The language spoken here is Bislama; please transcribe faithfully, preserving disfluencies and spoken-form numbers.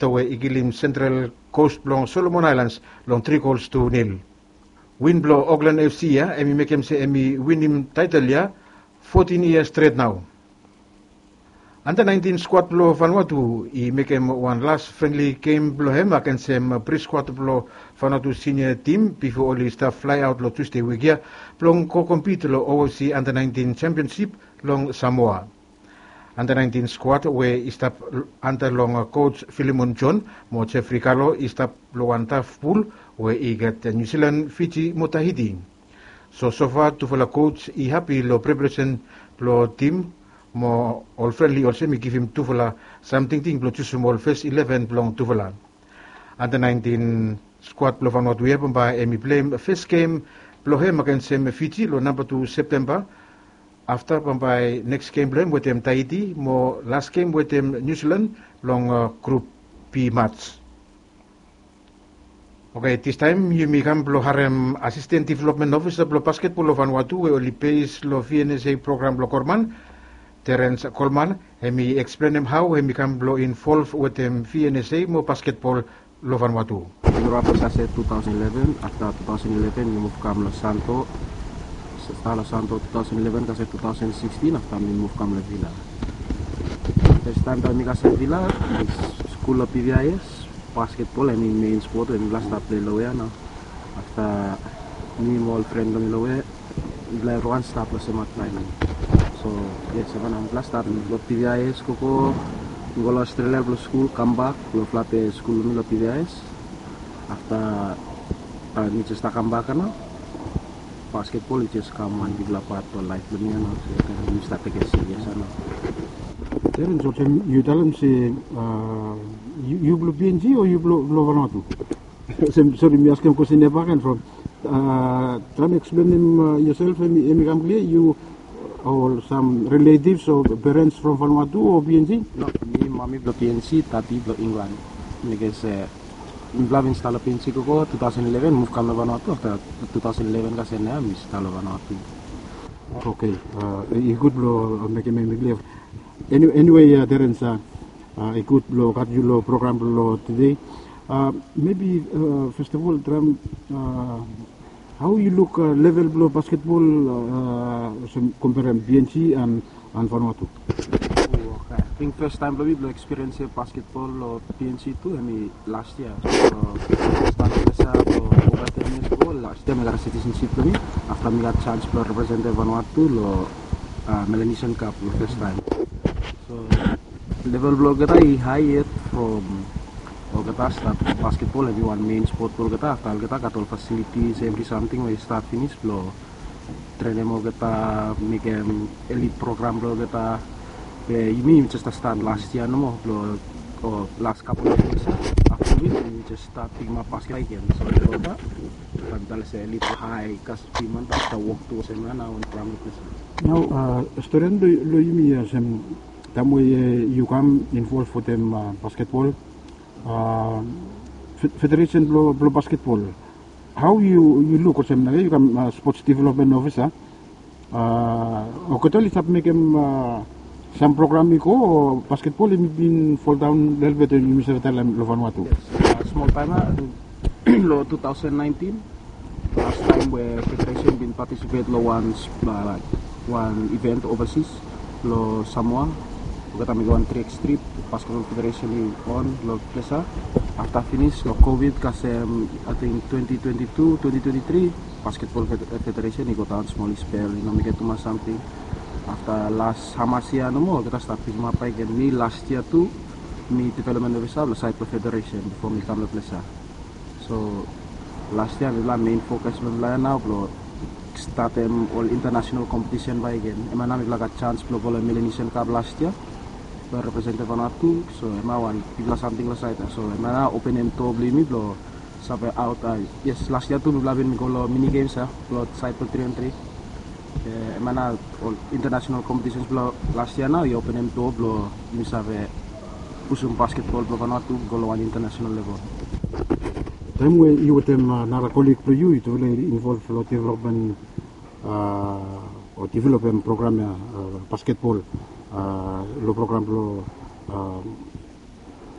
Afta we i kilim Central Coast blong Solomon Aelans long tri gols tu nil. Win blong Auckland FC ya hemi mekem se hemi winim taetel ya fotin yia stret nao. Anda naentin skuad blong Vanuatu i mekem wan las frenli gem blong hem agensem pri skuad blong Vanuatu sinia tim bifo oli stap flaeaot long Tusde wik ya blong go kompit long OFC anda naentin sempionsip long Samoa. Anda naentin skuad we i stap anda long koj Filimon John mo Jeffrey Kalo i stap long wan taf pul we i gat Niu Silan, Fiji mo Tahiti. So sofa tufala koj i hapi long preparesen blong tim mo ol frenli olsem i givim tufala sam tingting blong jusum ol fes ileven blong tufala. Anda naentin skuad blong Vanuatu ya bambae hemi pleim fes gem blong hem agensem Fiji long namba tu Septemba. Afta bambae neks gem blong hem wetem Tahiti mo las gem wetem Niu Silan long grup B mats. Oke, distaem yumi kam blong harem Asisten Developmen Ofisa blong basketbol long Vanuatu we oli bes long VNSA program blong Korman, Terence Coleman, hemi eksplenem hao hemi kam blong involv wetem VNSA mo basketbol long Vanuatu. Yumi rap i stap se two thousand eleven, afta two thousand eleven mi muv kam long Santo. Stap long Santo two thousand eleven kasem two thousand sixteen, afta mi muv kam long Vila. Fes taem taem mi kasem Vila, mi skul long PVIS. Basketbol hemi mein spot we mifala stap pilai long we ya nao. Afta mi mo ol fren blong mi long we ya, mifala evriwan stap long sem wan taem. So yes, hemia nao mifala stap long PVIS, gogo, mi go long Australia blong skul, kambak blong flape skul blong mi long PVIS. Afta taem mi jes stap kambak ya nao, basketbol i jes kam wan bigfala pat blong laef blong mi ya nao. So taem mi stap tekem serious ya nao. Terence, olsem yu talem se, a, yu, yu blong PNG o yu blong, blong Vanuatu? Olsem, sori, mi askem kwestin ya bakegen from, a, traem eksplenem, a, yoself, hemi, hemi kam klia, yu o sam riletivs o perens from Vanuatu o PNG? No, mi mami blong PNG, dadi blong Inglan. Bikos, e, mifala bin stap long PNG gogo two thousand eleven, muv kam long Vanuatu afta two thousand eleven kasem ya mi stap long Vanuatu. Oke, a, i gud blong, a, mekem hemi klia. Eni-, eniwe, a, Terence, a, a, i gud blong gat yu long program blong tede. A, mebi, a, fes of ol, traem, a, hao yu luk, a, level blong basketbol, a, olsem komperem PNG and, and Vanuatu? O, oke. Ating fes taem blong mi blong ekspiriensim basketbol long PNG tu hemi las yia. So, stap long fes yia blong ova ten yias go, las yia mi gat citizenship blong mi. Afta mi gat janis blong representem Vanuatu long, a, Melanesian Cup long fes taem. So level blong olgeta i hae yet from olgeta stap, basketbol hemi wan mein spot blong olgeta. Afta olgeta gat ol fasilitis, evri samting we i stap finis blong trenem olgeta, mekem elit program blong olgeta. Be yumi jes stat las yia nomo blong, o, las kapol of yias. Afta we yumi jes stat pikimap basket bak gen. So olgeta, taem mi talem se elit hae kas piman bak stap wok tu olsem ya nao wan program blong olgeta. Nao, a, stori long, long yumi ya olsem, taem we, e, yu kam involv wetem, a, basketbol, a, fe-, federesen blong, blong basketbol. Hao yu, yu luk olsem nao yu kam, a, sports development officer, a, olgeta oli stap mekem, a, sam program i go, o basketbol hemi bin foldaon lelebet, yumi save talem, long Vanuatu? Yes, a, smol taem ya, long two thousand nineteen, las taem we federesen bin patisipet long wan, a, laek, wan iven ovasis long Samoa. Olgeta mekem wan trick trip, Basketbol Federesen i on long ples ya. Afta finis long COVID kasem, ating twenty twenty-two, twenty twenty-three, Basketbol Fed-, Federesen i godaon smol, i spel, i no mekem tumas samting. Afta las hamas yia nomo, olgeta stap pikimap bak gen. Mi las yia tu, mi development officer long saed blong federesen bifo mi kam long ples ya. So las yia mifala mein fokas blong mifala ya nao blong statem ol intanasenal kompetisen bakegen. Hemia nao mifala gat janis blong go long Melanesian Cup las yia blong representem Vanuatu. So hemia wan bigfala samting long saed ya. So hemia nao openem doa blong yumi blong save aot, a, yes, las yia tu mifala bin go long mini games ya blong saed blong tri on tri. E, hemia nao ol intanasenal kompetisens blong las yia nao i openem doa blong yumi save pusum basketbol blong Vanuatu go long wan intanasenal level. Taem we yu wetem, a, nara kolig blong yu, yutufala i involv long developmen, a, o developem program ya, a, basketbol, a, long program blong, a,